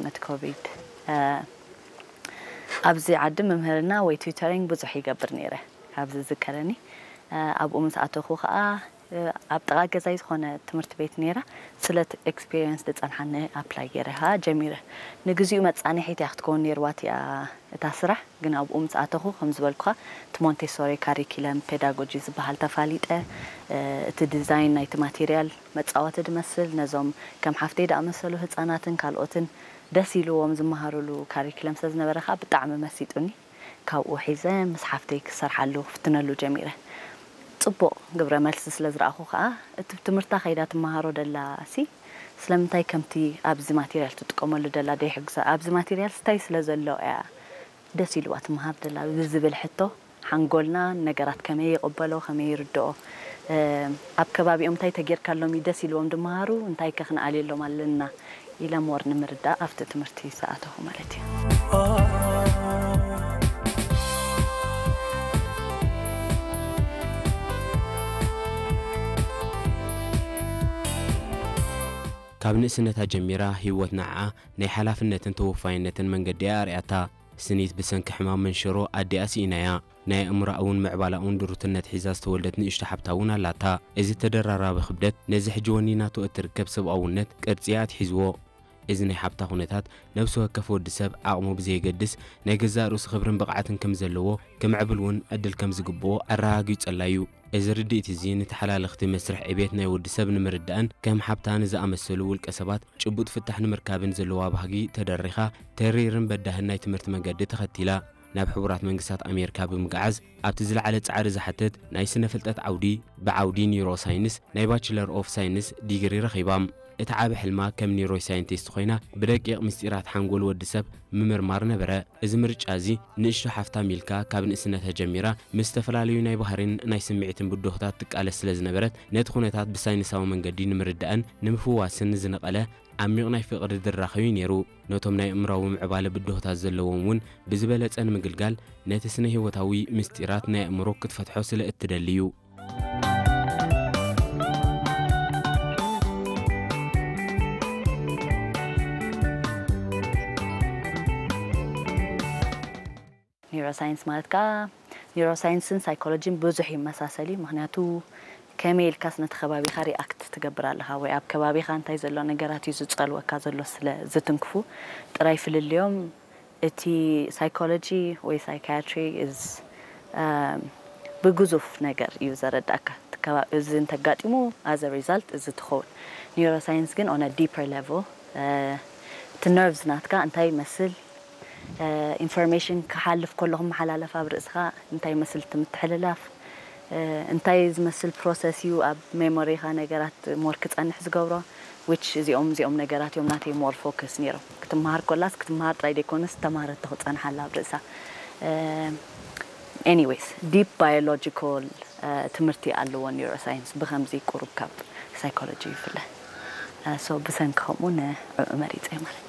ነቲ ኮቪድ ኣብዚ ዓዲ ምምህርና ወይ ቱተሪንግ ብዙሕ ይገብር ነይረ። ካብዚ ዝዝከረኒ ኣብኡ ምስ ኣተኹ ከዓ ኣብ ጥቓ ገዛይ ዝኾነ ትምህርቲ ቤት ነይራ። ስለ ኤክስፒሪየንስ ዝፀንሓኒ ኣፕላይ ገይረ ከዓ ጀሚረ። ንግዚኡ መፃንሒት እያ ክትከውን ነይርዋ እቲኣ እታ ስራሕ፣ ግን ኣብኡ ምስ ኣተኹ ከም ዝበልኩኻ እቲ ሞንቴሶሪ ካሪኪለም ፔዳጎጂ ዝበሃል ተፋሊጠ። እቲ ዲዛይን ናይቲ ማቴሪያል መፃወቲ ድመስል ነዞም ከም ሓፍተይ ዝኣመሰሉ ህፃናትን ካልኦትን ደስ ኢልዎም ዝመሃሩሉ ካሪክለም ስለ ዝነበረ ከዓ ብጣዕሚ መሲጡኒ። ካብኡ ሒዘ ምስ ሓፍተይ ክሰርሓሉ ክፍትነሉ ጀሚረ። ፅቡቕ ግብረ መልሲ ስለ ዝረኣኹ ከዓ እቲ ትምህርታ ከይዳ ትመሃሮ ደላ ሲ ስለምንታይ ከምቲ ኣብዚ ማቴሪያል ትጥቀመሉ ደላ ደይሕግዛ፣ ኣብዚ ማቴሪያል ስታይ ስለ ዘሎ እያ ደስ ኢልዋ ትመሃር ደላ ብዝብል ሕቶ ሓንጎልና ነገራት ከመይ ይቕበሎ ከመይ ይርድኦ ኣብ ከባቢኦም እንታይ ተጌርካሎም እዩ ደስ ኢልዎም ድመሃሩ እንታይ ከ ክንኣልየሎም ኣለና ኢለ ሞር ንምርዳእ ኣብቲ ትምህርቲ ዝኣተኹ ማለት እዩ። ካብ ንእስነታ ጀሚራ ህይወት ንዓኣ ናይ ሓላፍነትን ተወፋይነትን መንገዲ እያ ኣርእያታ። ስኒት ብሰንኪ ሕማም መንሽሮ ኣዲኣ ስኢናያ። ናይ ኣእምሮኣውን ምዕባላውን ድሩትነት ሒዛ ዝተወልደት ንእሽቶ ሓብታ እውን ኣላታ። እዚ ተደራራቢ ክብደት ነዚ ሕጂ ወኒናቶ እትርከብ ሰብኣውነት ቅርጺ እያ ኣትሒዝዎ። እዚ ናይ ሓብታ ኩነታት ነብሲ ወከፍ ወዲ ሰብ ዓቕሙ ብዘየገድስ ናይ ገዛእ ርእሱ ክብርን ብቕዓትን ከም ዘለዎ ክምዕብል እውን ዕድል ከም ዝግብኦ ኣረጋጊጸላ እዩ። እዚ ርድኢት እዚ ንተሓላለኽቲ መስርሕ ዕቤት ናይ ወዲ ሰብ ንምርዳእን ከም ሓብታ ንዝኣመሰሉ ውልቀ ሰባት ጭቡጥ ፍታሕ ንምርካብን ዘለዋ ባህጊ ተደሪኻ ተሪርን በዳህን ናይ ትምህርቲ መገዲ ተኸቲላ። ናብ ሕቡራት መንግስታት ኣሜሪካ ብምግዓዝ ኣብቲ ዝለዓለ ጻዕሪ ዝሓትት ናይ ስነ ፍልጠት ዓውዲ ብዓውዲ ኒውሮ ሳይንስ ናይ ባችለር ኦፍ ሳይንስ ዲግሪ ረኺባ። እቲ ዓቢ ሕልማ ከም ኒውሮ ሳይንቲስት ኮይና ብደቂቕ ምስጢራት ሓንጎል ወዲ ሰብ ምምርማር ነበረ። እዚ ምርጫ እዚ ንእሽቶ ሓፍታ ሚልካ ካብ ንእስነታ ጀሚራ ምስ ዝተፈላለዩ ናይ ባህሪን ናይ ስምዒትን ብድሆታት ትቃለስ ስለ ዝነበረት ነቲ ኩነታት ብሳይንሳዊ መንገዲ ንምርዳእን ንምፍዋስን ዝነቐለ ዓሚቕ ናይ ፍቕሪ ድራኸ እዩ ነይሩ። ነቶም ናይ ኣእምሮኣዊ ምዕባለ ብድሆታት ዘለዎም እውን ብዝበለጸ ንምግልጋል ነቲ ስነ ህይወታዊ ምስጢራት ናይ ኣእምሮ ክትፈትሖ ስለ እትደሊ እዩ። ኒውሮሳይንስ ማለት ከዓ ኒውሮሳይንስን ሳይኮሎጂን ብዙሕ ይመሳሰል እዩ። ምክንያቱ ከመይ ኢልካስ ነቲ ከባቢኻ ሪኣክት ትገብር ኣለኻ ወይ ኣብ ከባቢኻ እንታይ ዘሎ ነገራት እዩ ዝፀልወካ ዘሎ ስለ ዝትንክፉ ጥራይ ፍልልዮም። እቲ ሳይኮሎጂ ወይ ሳይካያትሪ is ብግዙፍ ነገር እዩ ዘረዳእካ። እዚ እንተጋጢሙ as a result እዚ ትኸውን። ኒውሮሳይንስ ግን on a deeper level እቲ ነርቭስ ናትካ እንታይ ይመስል፣ ኢንፎርሜሽን ክሓልፍ ከሎ ክመሓላለፍ ኣብ ርእስኻ እንታይ ይመስል እቲ ምትሕልላፍ፣ እንታይ ዝመስል ፕሮሰስ እዩ ኣብ ሜሞሪኻ ነገራት ሞር ክፀንሕ ዝገብሮ። ዊች እዚኦም እዚኦም ነገራት እዮም ናተይ ሞር ፎከስ ነይሮም። ክትመሃር ኮላስ ክትመሃር ጥራይ ዘይኮነስ ተማረቶ ክፀንሓላ ኣብ ርእሳ። ኤኒዌይስ ዲፕ ባዮሎጂካል ትምህርቲ ኣለዎ ኒውሮሳይንስ ብከምዚ ቁሩብ ካብ ሳይኮሎጂ ይፍለ። ሶ ብሰንኪ ከምኡ ንዕኡ መሪፀ ማለት እዩ።